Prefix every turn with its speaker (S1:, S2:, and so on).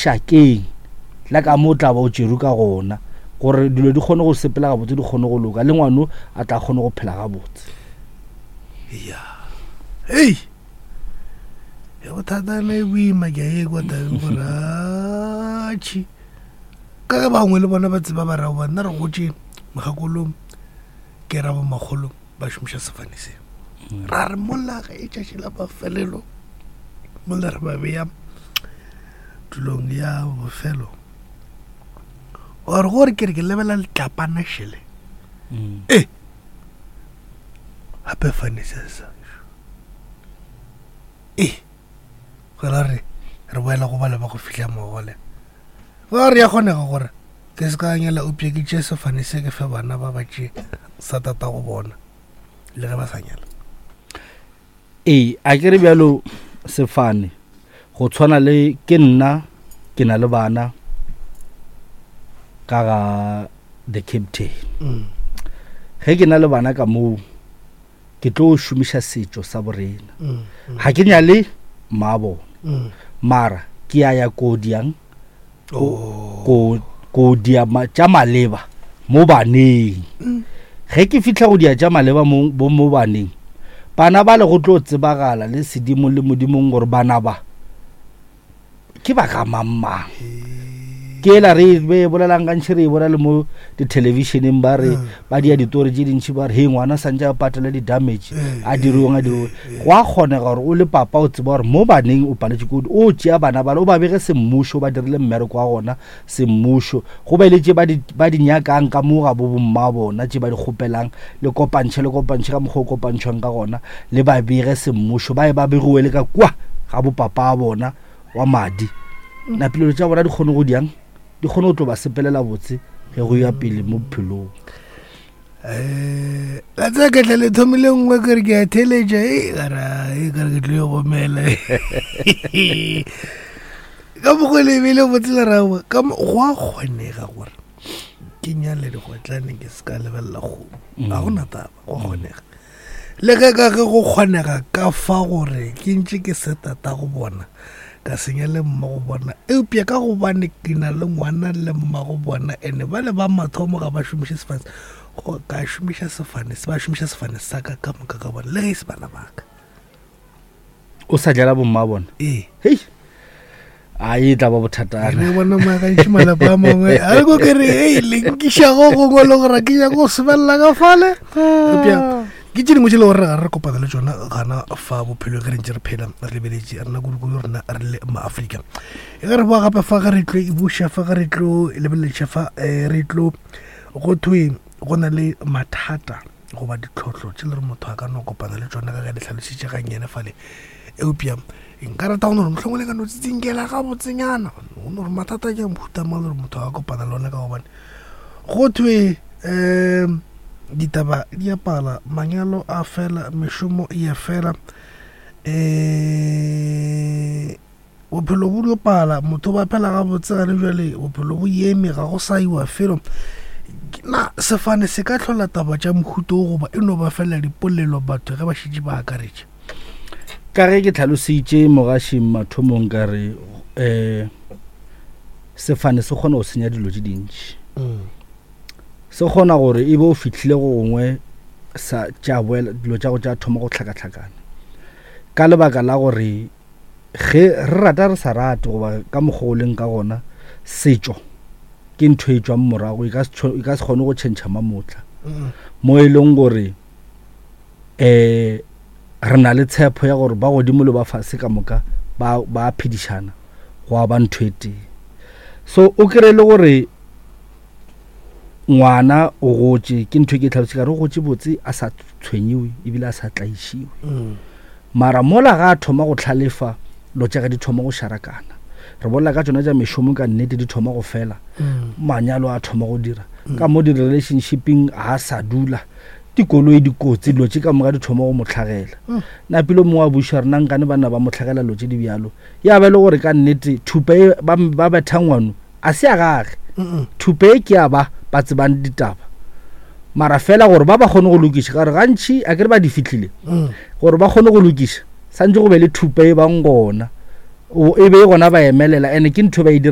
S1: lešakeng la ka mo o tla ba o tšerwe ka gona gore dilo di kgone go sepela gabotse di kgone go loka le ngwano a tla kgone go phela gabotse
S2: ya hei e bothata ne boima ke a e kwa tabeng gore atšhi ka ge bangwe le bona ba tseba ba rao ba nna re gotše mogakolong ke ra bomakgolo ba šomiša sefane se mm. ra re mola ge e tšatši la mafelelo mola re ba beya tulong ya bofelo or gore ke re ke lebela letlapana šele mm. e gape fane se sa e gora re re boela go bale ba go fihla mogole ba re ya kgonega gore ke se ka nyala upše ke tšee sefane se ke fe bana ba ba tšee sa tata go bona le ge ba sa nyala
S1: ee a ke re bjalo sefane go tshwana le ke nna ke na le bana ka ga the captain mm. ge ke na le bana ka moo ke tlo šomiša setšo sa borena mm, mm. ga ke nyale mma bona mm. mara ke a ya ko diang oh. ko dia tša maleba mo baneng ge ke fitlha go dia tša maleba mo mo baneng bana ba le go tlo tsebagala le sedimo le modimong gore bana ba ke ba ga mang-mang ke ela re be bolelang gantši re e bona le mo dithelebišeneng ba re mm. ba dia ditori tše dintšhi ba re he ngwana santse a patele di-damage mm. a diriweng a diriweng mm. go a kgonega gore o le papa o tseba gore mo baneng o paletše kudu o tšea bana bale o ba bege semmušo ba dirile mmereko wa gona semmušo go be le tše ba di nyakang ka mo ga bo bomma bona tše ba di kgopelang le kopantšhe le kopantšhe ka mokgwa o kopantšhwang ka gona le ba bege semmušo ba ye ba begiwe le ka kua ga bopapa bona wa madi napilelo tša bona di kgone go diang di kgone go tlo ba sepelela botse ge go ya pele mo bophelong
S2: um la tsaya ke tla le thomile nngwe kere ke a theletša e kara e kare ke tlo e gomela ka mokgwa le ebile botse le rawa ka go a kgonega gore ke nyale digotlane ke se ka lebelela kgomo ga gona taba go kgonega Le ge ka ge go kgonega ka fa gore ke ntše ke se tata go bona, ka senya le mma go bona, eupša ka gobane ke na le ngwana le mma go bona, ene ba le ba mathomo ga ba šomiše sefane, go ka šomiša sefane, ba šomiša sefane sa ka ka moka ka bona, le ge e se bana ba ka.
S1: O sa jala bomma bona?
S2: Ee.
S1: Hei. A e tla ba bothatana.
S2: Re bona magantši malapa a mangwe. A re ko ke re, ei, le nkiša go gongwe le gore ke nyaka go sebelela ka fale. Eupša ke tše dingwe tše le gore ga re kopana le tšona gana fa bophelo ge re ntše re phela re lebeletše rena kudu-kudu rena re le maafrika. E ge re boa gape fa ge re tlo e buša fa ge re tlo lebeleletša fa eh, re tlo go thwe go na le mathata goba ditlhohlo tše le gore motho a ka no kopana le tšona ka ge le hlalošitše gannyane fale eupša nka rata go no gore mohlomongwe le ka no tsitsinkela gabotsenyana go no gore mathata ke a mohuta mang le gore motho a ka kopana le ona ka gobane go thwe um ditaba di a pala manyalo a fela mešomo e a fela um Bophelo bo dio pala, motho ba phela gabotse gane bjale, bophelo bo eme, ga go sa iwa felo. Na sefane se ka hlola taba tša mohuta wo goba e no ba fela dipolelo batho ge ba šetše ba akaretše?
S1: Ka ge ke tlhalositše mogašing mathomong ka re um sefane se kgona go senya dilo tše dintši. Mm. Se kgona gore e be o fihlile go gongwe sa tša boela dilo tša go tša thoma go hlakahlakana ka lebaka la gore Ge re rata re sa rate goba ka mokgwa o leng ka gona, setšo ke ntho e tšwang morago e ka se e ka se kgone go tšhentšha mamotla. Mo e leng gore um re na le tshepo ya gore ba godimo le ba fase ka moka ba ba phedišana go ba ntho e tee. So o kry-e le gore ngwana o gotše ke ntho e ke e tlhalositše ka re o gotše botse a sa tshwenyiwe ebile a sa tlaišiwe. Mara mola ga a thoma go hlalefa, lo tša ge di thoma go šarakana. Re bolela ka tšona tša mešomo ka nnete di thoma go fela. Manyalo a thoma go dira. Ka mo di-relationshipeng ga a sa dula. Dikoloi dikotsi dilo tše ka moka di thoma go mo hlagela. Napile o mongwe a buša re na nkane banna ba mo hlagela dilo tše di bjalo. Ya ba e le gore ka nnete thupa e ba, ba betha ngwano a se ya gage. Thupa e ke ya ba ba tsebang ditaba. Mara fela gore ba ba kgone go lokiša ka gore gantši a ke re ba di fihlile gore ba kgone go lokiša santse go be le thupa e bang gona e be e gona ba emelela ene ke ntho ba e dira.